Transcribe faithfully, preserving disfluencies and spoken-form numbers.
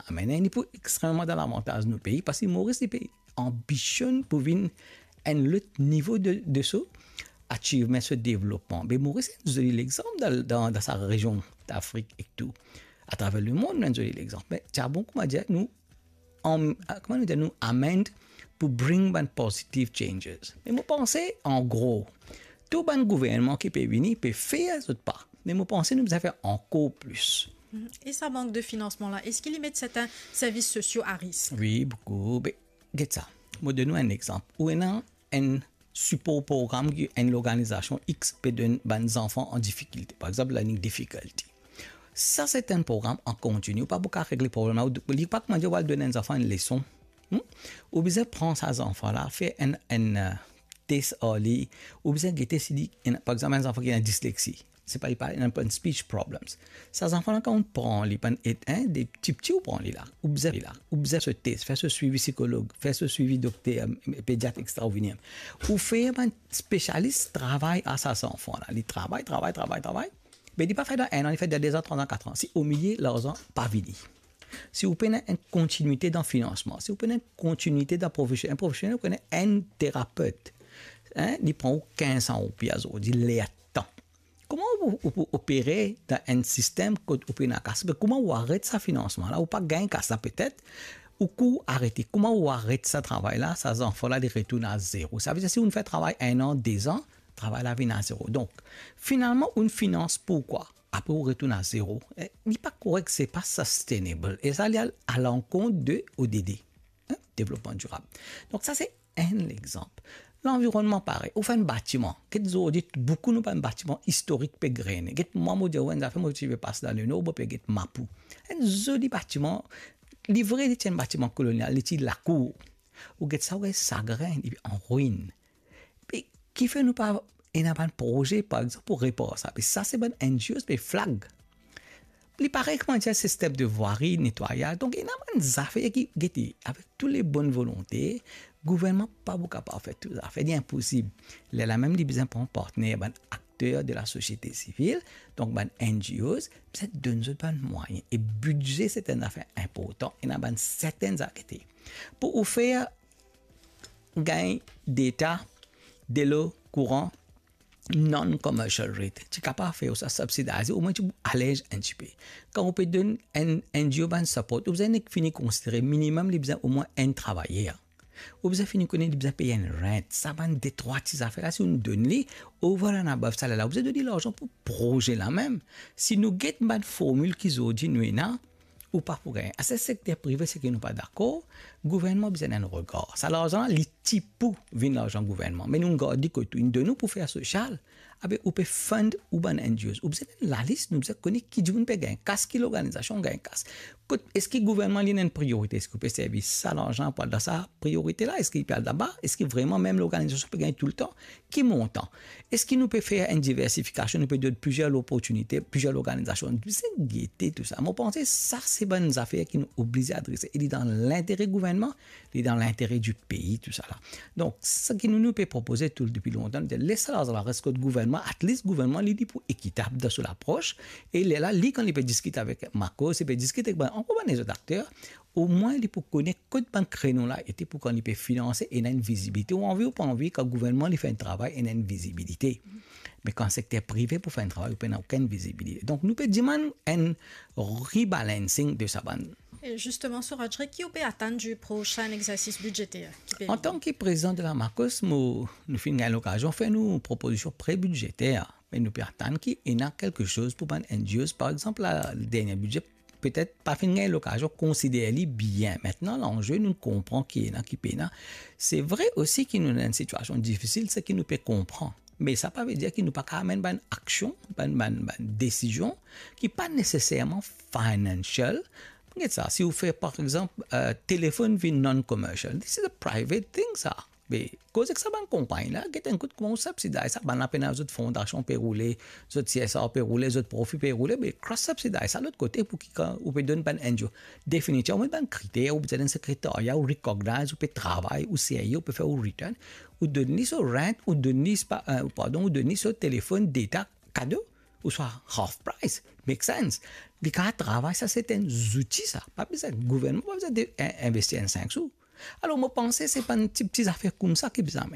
Amenn enn li pou extrememan dan lavantaz nou pei, parski Moris li pe anbisionn pou vinn enn lot nivo de, de so achievement, so devlopman. Me Moris enn zoli lexanp dan, dan, dan sa rezion Afrik ek tou. Atraver lemond, nou enn zoli lexanp. Me ti a bon, kouma dir, nou, an, kouma nou dir, nou amend pou bring bann positive changes. Me mo panse, an gro, tou bann gouvernman ki pe vini, pe fer zot pa. Me mo panse nou bizin fer ankor plis. Mhm. E sa mank de finansman la, eski li met sertin servis sosio a risk? Wi, boukou. Be, get sa. Mo donn ou enn lexanp. Ou ena enn sipor program ki enn lorganizasion X pe donn bann zanfan an difikilte. Par exanp, learning difficulty. Sa se enn program an kontini. Ou pa pou kapav regle problem la. Ou, li pa kouma dir ou al donn enn zanfan enn leson. Hmm? Ou bizin pran sa zanfan la, fer enn, enn, euh, tes ar li. Ou bizin gete si li, enn, par exanp, enn zanfan ki ena dislexi. Se pa, li pa, li ena bann speech problems. Sa zanfan la, kan ou pran li, bann et, hein, de tipti ou pran li la, ou bizin li la, ou bizin so tes, fer so swivi psikolog, fer so swivi dokter, euh, pediat, et cetera, ou vini. Ou fer bann spesialis travay ar sa zanfan la. Li travay, travay, travay, travay. Me li pa fer dan enn an, li fer dan de an, trwa an, kat an. Si omilie, larzan pa vini. Si ou pena enn kontinite dan finansman, si ou pena enn kontinite dan profesion, enn profesionel, ou pena enn terapet, hein, li pran ou kinz san roupi azordi, lertan. Kouma ou, ou pou opere dan enn sistem kot ou pena kas? Me kouma ou aret sa finansman la, ou pa gagn kas la petet, ou kou arete. Kouma ou aret sa travay la, sa zanfan la, li retourn a zero. Savedir, si ou fer travay enn an, de an, travay la vinn a zero. Donk, finalman, ou finans pou kwa? Apre ou retourn a zero. Eh, li pa korek, se pa sustainable. E sa, li al alankont de O D D, hein, devlopman dirab. Donk, sa se enn lexanp. Lanvironnman parey. Ou fer enn batiman. Get zordi, boukou nou bann batiman istorik pe grene. Get mwa, mo dir ou enn zafer, mo ti pe pas dan Lenor, mo pe get Mapou. Enn zoli batiman. Li vre, li ti enn batiman kolonial, li ti lakour. Ou get sa, ou gagn sagrin, li an rin. Pe kifer nou pa ena bann proze, par exanp, pou repar sa? Pe sa, se bann N G Os pe flag. Li parey kouma dir sistem de vwari, netwayaz. Donk, ena bann zafer ki, gete, avek tou le bonn volonte, gouvernman pa pou kapav fer tou zafer, li inposib. Lerla mem, li bizin pran partner, bann akter de lasosiete sivil, donk bann N G Os, bizin donn zot bann mwayin. E bidze, se enn zafer inportan, ena bann sertenn zafer pou ou fer gagn deta, delo, kouran, non-commercial rate. Ti kapav fer ou sa subsidize, omwin ti pou alez enn tipe. Kan ou pe donn enn, enn N G O bann support, ou bizin nek fini konsidere minimem li bizin omwin enn travayer. Ou bizin fini kone li bizin pey enn rent. Sa bann detrwa ti zafer la, si ou donn li, over and above saler la, ou bizin donn li larzan pou proze la mem. Si nou get bann formil ki zordi nou ena, ou pa pou gagn. Aster sekter prive, seki nou pa dakor, gouvernman bizin enn regar. Sa larzan la, li ti pou vinn larzan gouvernman. Me nou gard li kot ou, inn donn ou pou fer sosial. Abe, ou pe fund ou bann N G Os. Ou bizin enn lalis, nou bizin kone ki dimoun pe gagn kas, ki lorganizasion gagn kas. Kot, eski gouvernman li ena enn priorite? Eski ou pe servi sa larzan pou al dan sa priorite la? Eski li pe al laba? Eski vreman mem lorganizasion pe gagn toultan? Ki montan? Eski nou pe fer enn diversifikasion, nou pe donn plizier loportinite, plizier lorganizasion? Nou bizin gete tou sa. Mo panse sa se bann zafer ki nou oblize adrese. E li dan lintere gouvernman, li dan lintere di pei, tou sa la. Donk, seki nou, nou pe propoze tou depi lontan, nou dir, les sa larzan la res kot gouvernman, at least gouvernman, li, li pou ekitab dan so lapros. E lerla, li, kan li pe diskit avek Makos, li pe diskit avek bann, ankor bann lezot akter, omwin li pou kone kot bann kreno la ete, pou kan li pe finanse, ena enn vizibilite. Ou anvi ou pa anvi, kan gouvernman li fer enn travay, ena enn vizibilite. Me kan sekter prive pou fer enn travay, ou pena okenn vizibilite. Donk, nou pe dimann enn rebalancing de sa bann. E zisteman, Suraj Ray, ki ou pe atann di prosin exersis bidzeter ki pe vini? Antan ki prezidan de la Makos, mo, nou finn gagn lokazion fer nou propozision pre-bidzeter, me nou pe atann ki ena kelke soz pou bann N G Os. Par exanp, la, dernie bidze, petet pa finn gagn lokazion konsider li bien. Mintnan, lanze, nou konpran ki ena, ki pena. Se vre osi ki nou dan enn sitiasion difisil, seki nou pe konpran. Me sa pa ve dir ki nou pa kapav amenn bann aksion, bann, bann, bann desizion ki pa neseserman financial. Get sa, si ou fer, par exanp, euh, telefonn vinn non-commercial, this is a private thing, sa. Me koz ek sa bann konpagni la, get enn kout kouma ou subsidize sa, bann la pena zot fondasion pe roule, zot C S R pe roule, zot profi pe roule, me cross subsidize sa lot kote pou ki kan ou pe donn bann N G O. Definitivman, ou met bann kriter, ou bizin enn sekretaria, ou recognize, ou pe travay, ou serye, ou pe fer ou return, ou donn li so rent, ou donn li, pa, euh, pardon, ou donn li so telefonn, data, kado, ouswa half price, make sense. Li kapav travay, sa se enn zouti sa. Pa bizin, gouvernman pa bizin de, in-, investi enn sink sou. Alor, mo panse se pa enn ti, ti zafer koumsa ki bizin